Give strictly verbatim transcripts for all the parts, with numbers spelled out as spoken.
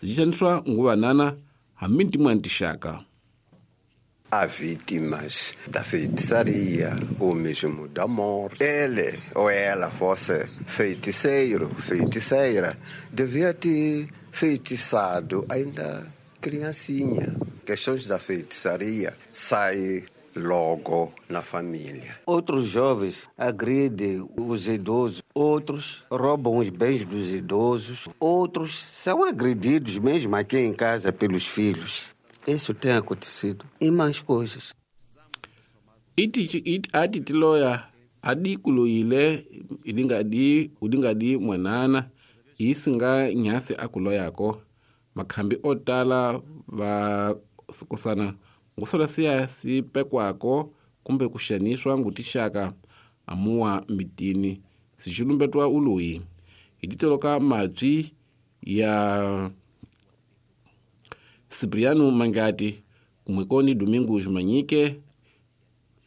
Sixaniswa nguvanana hambi tin'wana tixaka. Há vítimas da feitiçaria ou mesmo da morte. Ele ou ela fosse feiticeiro, feiticeira, devia ter feitiçado ainda criancinha. Questões da feitiçaria saem logo na família. Outros jovens agridem os idosos, outros roubam os bens dos idosos, outros são agredidos mesmo aqui em casa pelos filhos. Isso tem acontecido e mais coisas. Iti iti ati tiloya adi kuloyile idingadi udingadi mwanana isinga nyasi akuloyako makhambi otala va sikusana ngusola siya sipekwako kumbe kuxaniswa ngutixaka amuwa mitini sixulumbetwa uloyi hititoloka mabyi ya Cipriano Mangati kumwekoni Domingos Manyike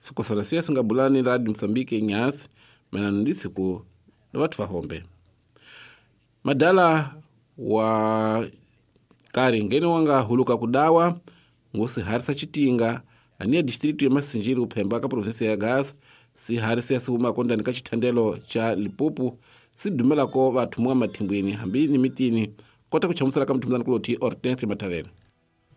sikosana siya singabulani Radio Msambiki nyasi manano ndisiku na watu vahombe madala wa kari ngene wanga huluka kudawa ngusiharisa chitinga aniya distritu ya Masinjiri kuphemba ka provinsi ya Gaza siharisa ya sihuma kondani ka chithandelo cha Lipupu sidumelako vathu mwa mathimbwini hambi ni mitini kota kuchamusela ka mthumzana kuloti Hortense Mathavela.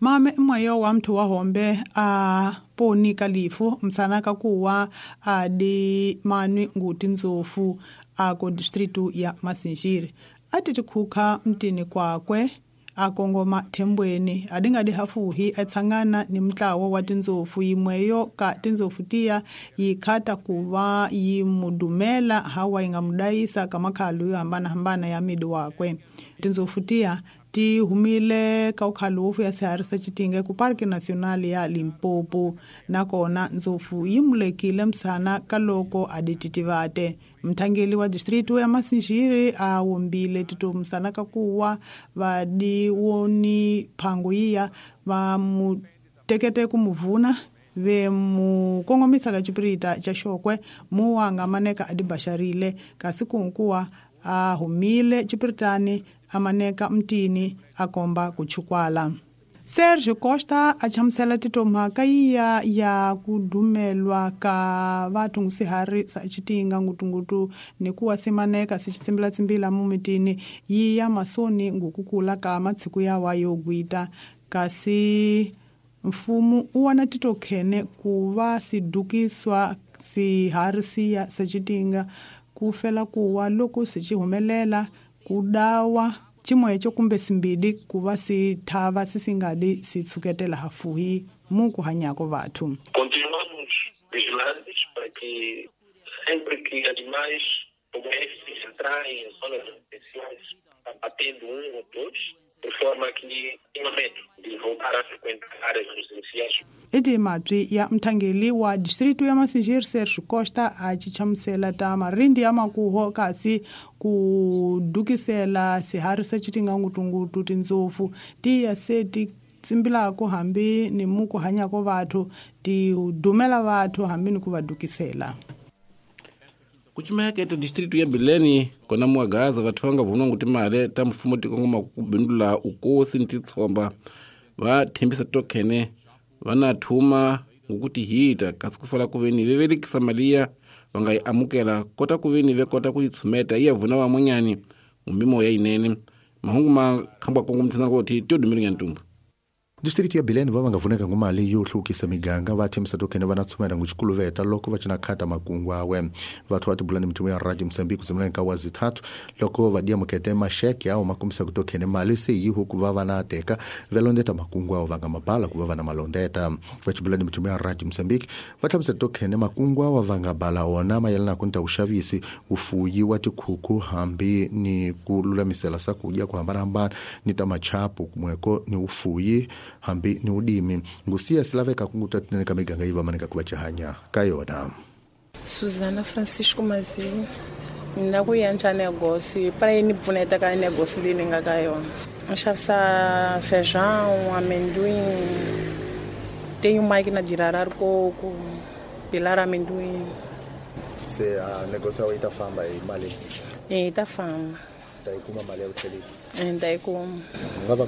Mame mwayo wa mthu wa hombe a poni kalifu msanaka kuwa a di manwi nguti nzofu a ko distritu ya Masinjiri ati tikhuka mtini kwakwe akongoma thembweni adingadi hafuhi etsangana ni mtlawo wa tinzofu yimweyo ka tinzofu tiya yikhata kuva yimudumela hawa ingamudayisa kamakhalu yo hambanahambana ya midi wakwe. Tinzofu tiya ti humile ka ukhalufu ya sihari sa Chitinga ku Parque Nacional ya Limpopo nakona nzofu yimulekile msana kaloko adititivate. Mthangeli wa distritu ya Masinjiri a wombile tito msana kakuwa vadiwoni phango yiya va mutekete kumuvuna ve mukongomisa ka chipirita cha Xokwe muwanga maneka adibaxarile kasi kunkuwa a humile chipiritani amaneka mtini akomba kuchukwala. Sergio Costa a chamusela titomhaka iya ya kudumelwa ka vathu ngusihari sa Chitinga ngutungutu ni kuwa simaneka sichitsimbila-tsimbila mumitini yiya masoni ngukukula ka matsiku yawa yo gwita kasi mfumo u wana titokhene ku va sidukiswa sihari siya sa Chitinga ku fela kuwa loko sichihumelela kudawa chimwecho kumbe simbidi kuva sithava sisingadi sitsuketela hafuhi muku hanyako vathu. Continuamos vigilantes para que sempre que animais como esses entrarem em zonas residenciais, abatendo um ou dois, de forma que tenha medo de voltar a frequentar áreas residenciais. Iti mabyi ya mthangeli wa distritu ya Masinjiri Sergio Costa a chichamusela ta marindi ya makuho kasi ku dukisela sihari sa Chitinga ngutungutu tindzofu tiya se ti tsimbilako hambi ni muku hanyako vathu ti dumela vathu hambi ni ku va dukisela. Kuchimehekete distritu ya Bileni kona muwa Gaza vathu vanga vunwa nguti male ta mfumo tikongoma kubindula ukosi ni titsomba va thembisa tokhene vana thuma ngukuti hita kasi kufala kuveni vevelikisa maliya vanga yi amukela kota kuveni ve kota ku yitshumeta iya vuna vamwenyani mumimoya yinene mahungu ma khambwa kongo mthana kuti tyo ntumbu. Distrito ya Bilene va va nga vuneka ngumali yo hlukisa miganga va thembisa tokhene va na tshumela nguchikuluveta loko va cina khata makungu awe vathu va tibulani mithumo ya Radio Msambiki kuzimulani ka wazi tatu loko va dia mukete masheke awo makumisa kutokhene mali se yihu ku va va na teka velondeta makungu awo va nga mabala ku va va na malondeta va tibulani mithumo ya Radio Msambiki va thembisa tokhene makungu awo va nga bala wona mayelana kunta uxavisi ufuyi wa tikhuku hambi ni ku lulamisela sakudya ku hambanahambana ni ta machapu kumweko ni ufuyi hambi ni udimi ngusiya silaveka kunguta tinene ka miganga yi va maneka ku va chihanya ka yona. Suzana Francisco Mazini na ku endla negócio para ni pfuneta ka negócio leyi ni nga ka yona. Xavisa feijão, amendoim, tenho máquina de rarar coco, pilar amendoim. Se a negócio aí tá famba aí mali. E tá famba. Ta yi kuma mali ya ku tlherisa. E ta yi kuma. U nga va